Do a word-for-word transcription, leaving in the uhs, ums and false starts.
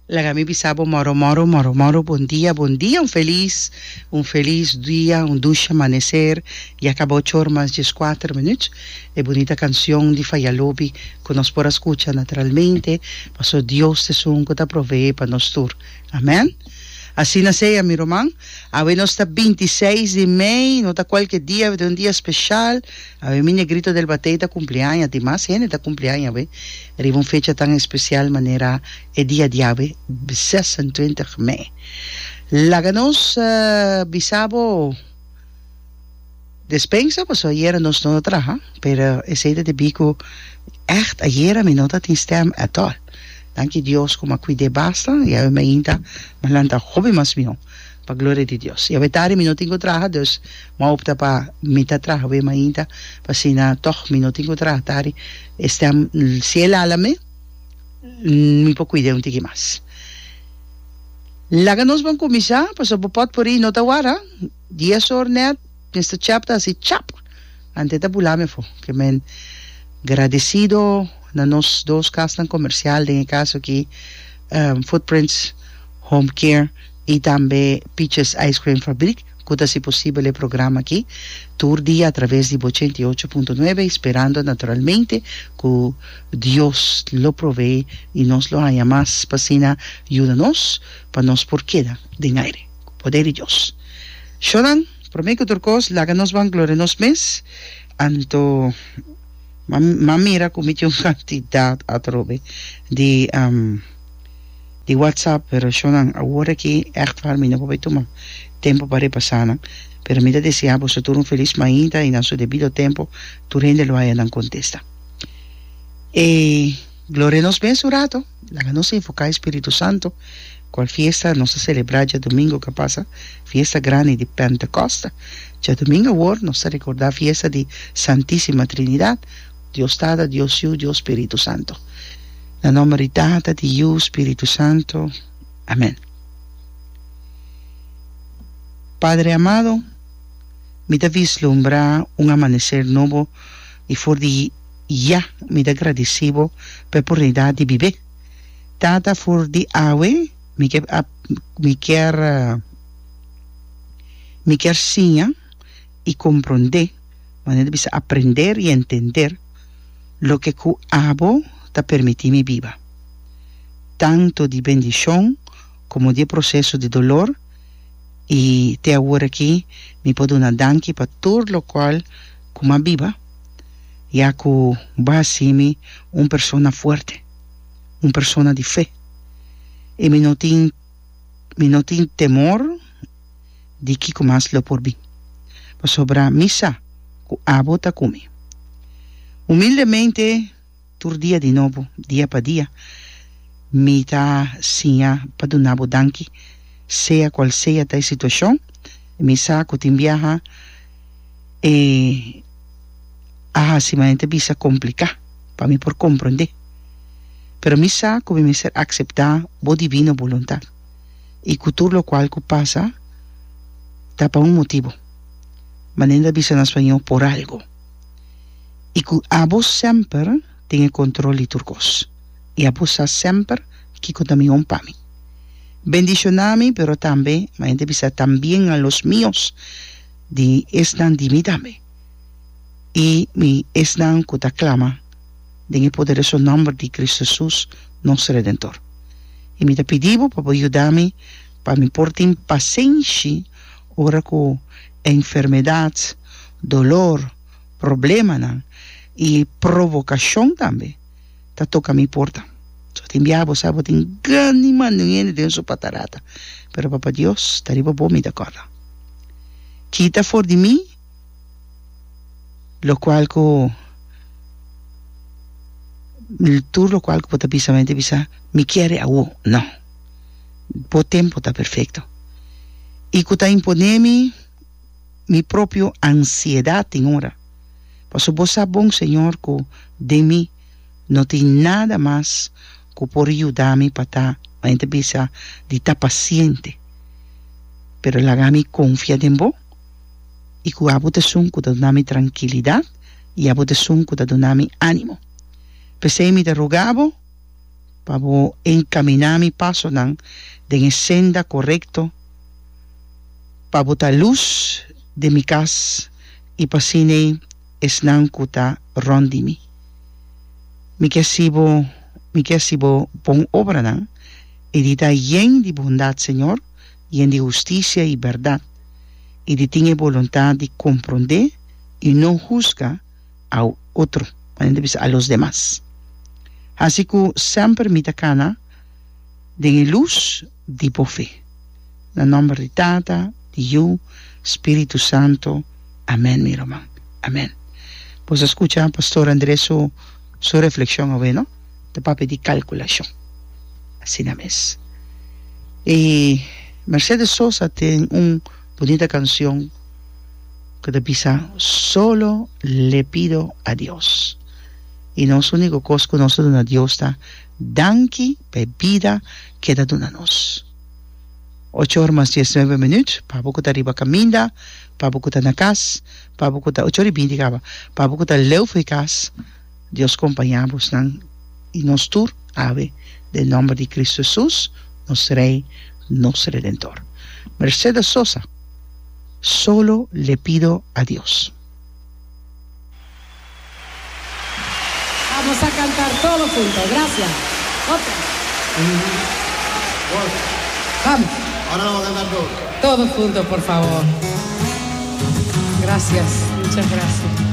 Laga mi bisa bo moro moro moro moro bon dia bon dia un felis un felis dia un dushi amanecer ya caba ocho or mas diescuater minuut e bunita cancion di Faya Lobi cu nos por a scucha naturalmente paso Dios ta esun cu ta provee pa nos tur amen asina sea mi ruman awe nos ta binti seis di mei no ta cualke dia awe ta un dia special awe mi negrito del batey ta cumpli aña tin mas hende ta cumpli aña awe riba un fecha tan especial manera E dia diawe zesentwintig mei. Laga nos bisa bo despensa pasobra ayera nos no ta traha, pero esei ta debí ku ègt ayera mi no ta tin stèm at all. Danki Dios ku mi a kuid'é basta i awe mainta mi a lanta hopi mas mihó pa gloria di Dios. I awe tardi mi no tin ku traha dus mi a opta pa mi ta traha awe mainta pa asina tòg mi no tin ku traha tardi e stèm si e lala mi. Mi por cuida un tiki mas. Laga nos ban cuminsa, pasobra bo potpourri no ta wara. Dies or net, Mister Chap ta haci chap! Ante ta bula mi afo. Ke men gradecido na nos dos casnan comercial, den e caso aki Footprints Home Care y tambe Peaches Ice Cream Fabriek. Ku ta hasi posibel e programa aki tur dia atraves di bo ochenta i ocho punto nuebe i sperando naturalmente ku Dios lo provee i nos lo haña mas pa asina yuda nos pa nos por keda den aire ku poder di Dios. Shownan, prome ku tur kos laga nos ban gloria nos mes anto m'a mira ku mi tin un kantidat atrobe di di WhatsApp pero shownan awor aki ègt waar mi no por bai tuma tempo pa repasá nan, pero mi ta deseá boso tur un felis mainta i na su debido tempo tur hende lo haya nan kontesta. E gloria nos mes un rato, laga nos invoká e Spiritu Santo, kual fiesta nos a selebrá djadumingu ku a pasa, fiesta grandi di Pentekoste. Djadumingu awor nos ta rekordá fiesta di Santísima Trinidat, Dios Tata, Dios Yu, Dios Spiritu Santo. Na nòmber di Tata, di Yu, Spiritu Santo. Amèn. Padre amado, mi ta vislumbra un amanecer nobo y for di ya mi ta gradici Bo pa e oportunidad di bib'é. Tata, for di awe mi ke mi kier mi kier siña y comprende, manera di bisa aprender y entender, loke cu Abo ta permiti mi biba, tanto di bendicion como di e proceso di dolor, i te awor aki mi por duna danki pa tur lokual ku m'a biba, ya ku bo a hasi mi un persona fuerte, un persona di fe, i mi no tin mi no tin temor di kiko mas lo por bin, pasobra mi sa ku abo ta ku mi. Humildemente. Tur dia di nobo, dia pa dia, mi ta siña pa duna bo danki, sea cual sea ta e situacion. Mi sa cu tin biaha e a haci manera ta bisa complica pa mi por comprende, pero mi sa cu mi mester acepta bo divino boluntad y cu tur locual cu pasa ta pa un motibo, manera ta bisa na spañol por algo. I ku abo semper tin e kontrol di tur kos, i abo sa semper kiko ta mihó pa mi. Bendishoná mi, pero tambe, ma hende bisa, tambien a los mios, di esnan di mi tambe, i mi esnan ku ta klama den e poderoso nòmber di Kristu Hesus, nos Redentor. I mi ta pidi bo pa bo yuda mi pa mi por tin pasenshi ora ku enfermedat, dolor, Problemanan i provokashon tambe ta toka mi porta. So tin biaha bo sa bo tin grandi manda un hende den su patarata, pero Papa Dios ta riba bo mi ta kòrda. Kita for di mi lokual ku tur lokual ku bo ta bisa mi ta bisa mi kier e awo. No, bo tempu ta perfekto i ku ta impone mi. Mi propio ansiedat tin ora. Pasobra bo sa bon, Señor, ku den mi no tin nada mas ku por yuda mi pa ta, ma ta bisa, di ta pasiente. Pero laga mi konfia den bo i ku abo ta esun ku ta duna mi trankilidat i abo ta esun ku ta duna mi ánimo. P'esei mi ta roga bo. Pa bo enkaminá mi pasonan den e senda korekto, pa bo ta lus den mi kas i pa asina esnan ku ta rònt di mi. Mi ke hasi bo, mi ke hasi bo bon obranan i di ta yen di bondat, Señor, yen di hustisia i bèrdat, i di tin e boluntat di komprondé i no husga a otro, manera ta bisa a los demas. Hasi ku semper mi ta kana den e lus di bo fe. Na nòmber di Tata, di Yu, Spiritu Santu. Amèn, mi ruman. Amèn. Boso a skucha Pastor Andrés su su reflekshon awe, no? Ta papia di kalkulashon. Asina mes. I Mercedes Sosa tin un bunita kanshon ku ta bisa Solo le pido a Dios. I nos úniko kos ku nos ta duna Dios ta danki pa e bida ku e ta duna nos. Ocho or mas dies nuebe minüt, pa bo ku ta riba kaminda, pa bo ku ta na kas, pa bo ku ta, ocho or i binti kaba, pa bo ku ta leu for di kas, Dios kompañá bosnan i nos tur awe den nòmber di Kristu Hesus, nos Rei, nos Redentor. Mercedes Sosa, Solo le pido a Dios. Vamos a cantar todos juntos. Gracias. Otra. Vamos. Ahora vamos a cantar todos. Todos juntos, por favor. Gracias. Muchas gracias.